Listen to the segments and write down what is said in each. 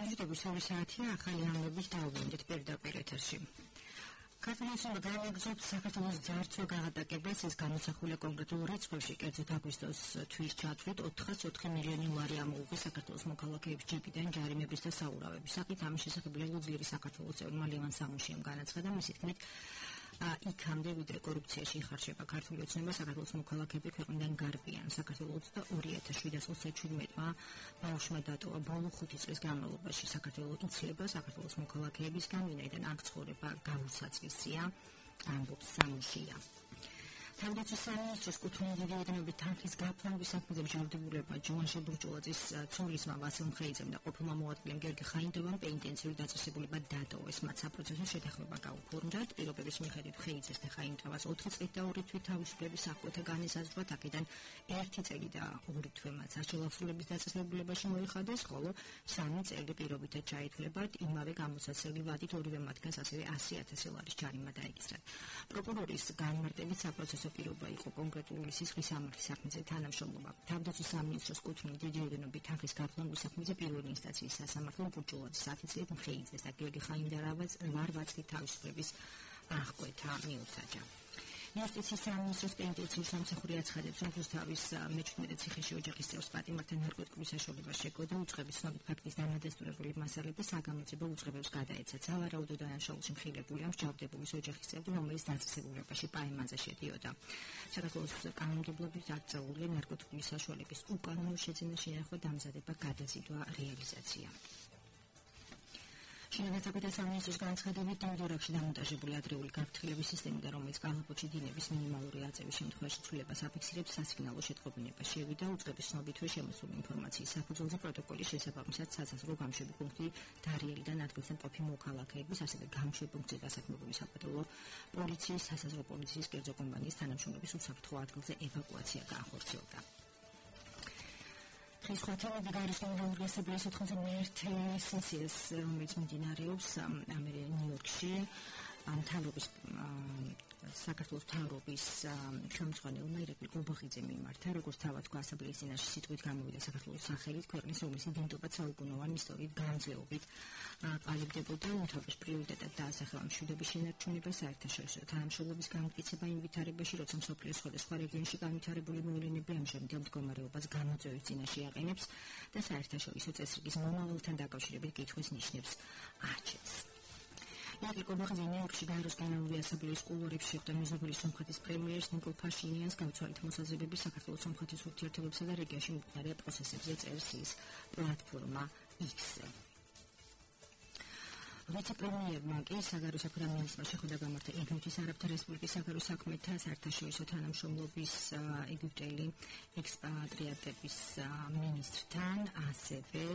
Ჭირდების ორი საათია ახალი ამბების დაუბრუნდით პირდაპირ ეთერში. ქართლის განაგზობთ საქართველოს ძარცვა გაღატაკებას ეს გამოსახულია კონკრეტულ რიცხვებში, კერძოდ აგვისტოს თვის ჩათვლით 404 მილიონი ლარი ამოუღეს საქართველოს მოქალაქეების ჯებიდან ჯარიმების და საურავების საკით. ამის შესახებ ლეგუძიერი საქართველოს წევრმა ლევან სამუშიამ განაცხადა, მისი თქმით იქამდე ვიდრე კორუფციაში იხარჯება ქართული ოცნება საქართველოს მოქალაქეები ქვეყნიდან გარბიან. საქართველოს 2717-მა ბავშვმა დატოვა ბოლო 5 წლის განმავლობაში. საქართველოს იცლება საქართველოს მოქალაქეებისგან, ვინაიდან აქ ცხოვრება გაურსაცვისია, ამბობს სამუშია. თავდაცვის სამინისტროს კუთვნილი დირექტორები თანხის გაფორმების საქმეზე მჟავდებულება ჯოვანშე ბურჯულაძის ცოლის ვასილ მხეიძემ და ყოფილმა მოადგილემ გიორგი ხაინდოვამ პენიტენციური დაწესებულება დატოვეს. მათ საპროცესო შეთანხმება გაუფორმდათ. პირობების მიხედვით მხეიძეს და ხაინდოვას 4 წლით და 2 თვით თავისუფლების აღკვეთა განისაზღვრათ. აქედან 1 წელი და 2 თვე მათ საშუალებლების დაწესებულებაში მოიხადეს, ხოლო 3 წელი პირობითად ჩაითვლებათ. იმავე გამოსაცდელი ვადით ორივე მათგანს ასევე 100,000 ლარის ჯარიმა დაეკისრათ. პროკურორის განმარტებით საპროცესო პირობა იყო კონკრეტული სისხლის სამართლის საქმეზე თანამშრომლობა. თავდაცვის სამინისტროს კუთვნილი დირექტორები თანხის გაფორმების საქმეზე პირველი ინსტანციის სასამართლომ ბურჯულაძის 10 წლით მხეიძეს და გიორგი ხაინდოვას 8 წლით თავისუფლების აღკვეთა მიუსაჯა. იუსტიციის სამინისტროს პენიტენციური სამსახური აცხადებს, რომ რუსთავის მე-17 ციხეში ოჯახის წევრს პატიმართან ნარკოტიკული საშუალება შეგო და უწყების ცნობით ფაქტის დამადასტურებელი მასალები საგამოძიებო უწყებებს გადაეცა. სავარაუდო დანაშაულში მხილებულია მსჯავრდებულის ოჯახის წევრი, რომელიც დაწესებულებაში პაემანზე შედიოდა. საქართველოს კანონმდებლობით აკრძალული ნარკოტიკული საშუალების უკანონო შეძენა შენახვა დამზადება გადაზიდვა რეალიზაცია. შინაგანსაკუთრების სამინისტროს განცხადებით დიმდორაკში დამონტაჟებული ადრეული გაფრთხილების სისტემიდან, რომელიც კალაპოტში დინების მინიმალური აწევის შემთხვევაში ცვლილებას აფიქსირებს, სასიგნალო შეტყობინება შევიდა. უწყების ცნობითვე შემოსული ინფორმაციის საფუძველზე პროტოკოლის შესაბამისად სასაზღვრო გამშვები პუნქტი დარიელიდან ადგილზე მყოფი მოქალაქეების, ასევე გამშვები პუნქტზე დასაქმებული საპატრულო პოლიციის, სასაზღვრო პოლიციის კერძო კომპანიის თანამშრომლების უსაფრთხო ადგილზე ევაკუაცია გაახორციელდა. დღის ხვათელები გარისკენ ორგანიზებული 91 სესიას, რომელიც მიმდინარეობს ნიუ-იორკში, მთავრობის საქართველოს მთავრობის ხელმძღვანელმა ირაკლი გულბახიძემ მიმართა, როგორც თავად თქვა, ასამბლეის წინაშე სიტყვით გამოვიდა საქართველოს სახელით, ქვეყნის რომლის იდენტობაც საუკუნოვანი ისტორიით განძლეობით ყალიბდებოდა, უმთავრეს პრიორიტეტად დაასახელა მშვიდობის შენარჩუნება, საერთაშორისო თანამშრომლობის განმტკიცება იმ ვითარებაში, როცა მსოფლიოს სხვადასხვა რეგიონში განვითარებული მოვლენები ამჟამინდელ მდგომარეობას გამოწვევის წინაშე აყენებს და საერთაშორისო წესრიგის მომავალთან დაკავშირებით კითხვის ნიშნებს აჩენს. ირაკლი გულბახიძე ნიუ-იორკში გაეროს გენერალური ასამბლეის კულუარებში შეხვდა მეზობელი სომხეთის პრემიერს ნიკოლ ფაშინიანს გაუცვალეთ მოსაზრებები საქართველოს სომხეთის ურთიერთობებსა და რეგიონში მიმდინარე პროცესებზე წერს ის პლატფორმა X-ზე. ვიცე-პრემიერმა კი საგარეო საქმეთა მინისტრმა შეხვდა გამართა ეგვიპტის არაბთა რესპუბლიკის საგარეო საქმეთა საერთაშორისო თანამშრომლობის ეგვიპტელი ექსპატრიატების მინისტრთან, ასევე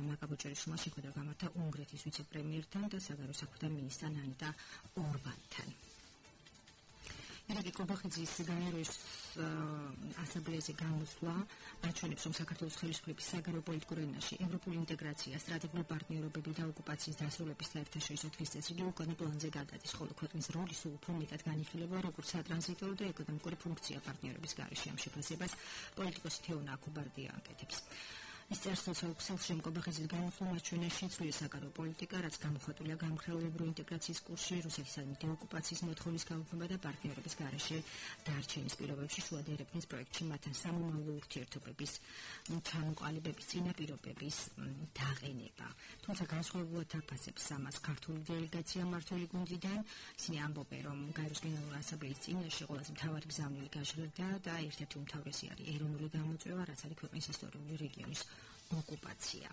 მაკაბოჭერიშვილმა შეხვდა გამართა უნგრეთის ვიცე-პრემიერთან და საგარეო საქმეთა მინისტრთან ანიტა ორბანთან. ირაკლი გულბახიძის გაეროს ასამბლეაზე გამოსვლა აჩვენებს, რომ საქართველოს ხელისუფლების საგარეო პოლიტიკურ ენაში ევროპული ინტეგრაცია, სტრატეგიული პარტნიორობები და ოკუპაციის დასრულების საერთაშორისო თვის წესრიგი უკანა პლანზე გადადის, ხოლო ქვეყნის როლი სულ უფრო მეტად განიხილება როგორც სატრანზიტო და ეკონომიკური ფუნქცია პარტნიორების გარეშე. ამ შეფასებას პოლიტიკოსი თეონა აქუბარდია აკეთებს. ის წერს სოციალურ გულბახიძის გამოსვლამ აჩვენეს შეცვლილი საგარეო პოლიტიკა, რაც გამოხატულია გამხრეულ ევროინტეგრაციის კურსში, რუსეთისადმი დეოკუპაციის მოთხოვნის გაუქმება და პარტნიორების გარეშე დარჩენის პირობებში შუა ერებნის პროექტში მათთან სამომავლო ურთიერთობების ჩამოყალიბების წინაპირობების დაყენება. თუმცა განსხვავებულად აფასებს ამას ქართული დელეგაცია მმართველი გუნდიდან. ისინი ამბობენ, რომ გაეროს გენერალური ასამბლეის წინაშე ყველაზე მთავარი გზავნილი გაჟღერდა და ერთ-ერთი უმთავრესი არის ეროვნული გამოწვევა, რაც არის ქვეყნის ისტორიული რეგიონის ოკუპაცია.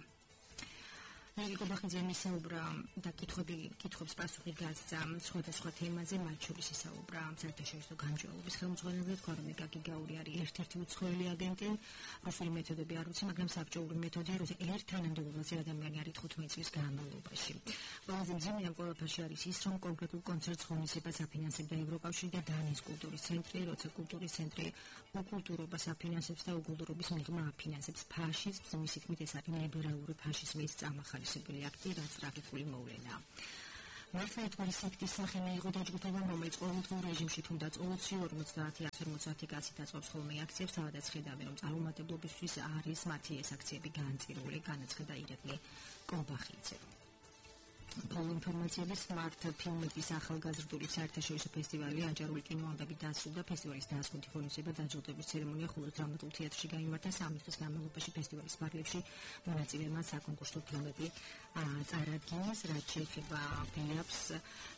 ირაკლი გულბახიძემ ისაუბრა და კითხვებს პასუხი გასცა სხვადასხვა თემაზე, მათ შორის ისაუბრა საერთაშორისო გამჭვირვალობის ხელმძღვანელზე, თქვა, რომ ეკაკი გაური არის ერთ-ერთი უცხოელი აგენტი, რუსული მეთოდები არ ვიცი, მაგრამ საბჭოური მეთოდია, ერთ თანამდებობაზე ადამიანი არის 15 წლის განმავლობაში. ყველაზე მძიმე ამ ყველაფერში არის ის, რომ კონკრეტულ კონცერტს ღონისებას აფინანსებდა ევროკავშირი და დანიის კულტურის ცენტრი, როცა კულტურის ცენტრი უკულტურობას აფინანსებს და უკულტურობის მიღმა აფინანსებს ფაშიზმს, მისი თქმით ეს არის ლიბერალური ფაშიზმის წამახალისებელი აქტი, რაც ტრაგიკული მოვლენაა. მართლმადიდებელი სექტის სახე მიიღო დაჯგუფებამ, რომელიც ყოველდღიურ რეჟიმში თუნდაც 20-50 კაცი დაწყობს ხოლმე აქციებს, სადაც ხედავენ, რომ წარუმატებლობისთვის არის მათი ეს აქციები განწირული, განაცხადა ირაკლი კობახიძე. ბოლო ინფორმაციები Smart ფილმების ახალგაზრდული საერთაშორისო ფესტივალი აჯარული კინოამბები დასრულდა. ფესტივალის დასრულდა ღონისძიება დაჯილდოების ცერემონია ხულოს დრამატულ თეატრში გაიმართა. 3 დღის განმავლობაში ფესტივალის პარლებში მონაწილეებმა საკონკურსო ფილმები წარადგინეს, რაც შეეხება ფილმებს.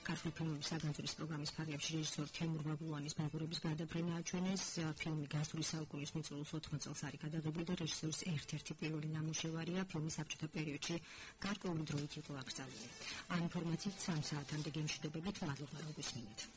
ქართული ფილმების საგანძურის პროგრამის ფარგლებში რეჟისორ თემურ ბაბულანის მეგობრების გადაფრენა აჩვენეს. ფილმი გასული საუკუნის მიწურულს 80 წელს არის გადაღებული და რეჟისორის ერთ-ერთი პირველი ნამუშევარია. ფილმი საბჭოთა პერიოდში გარკვეული დროით იყო აკრძალული. ამ ინფორმაციით 3 საათამდე გემშვიდობებით, მადლობა რომ გვისმინეთ.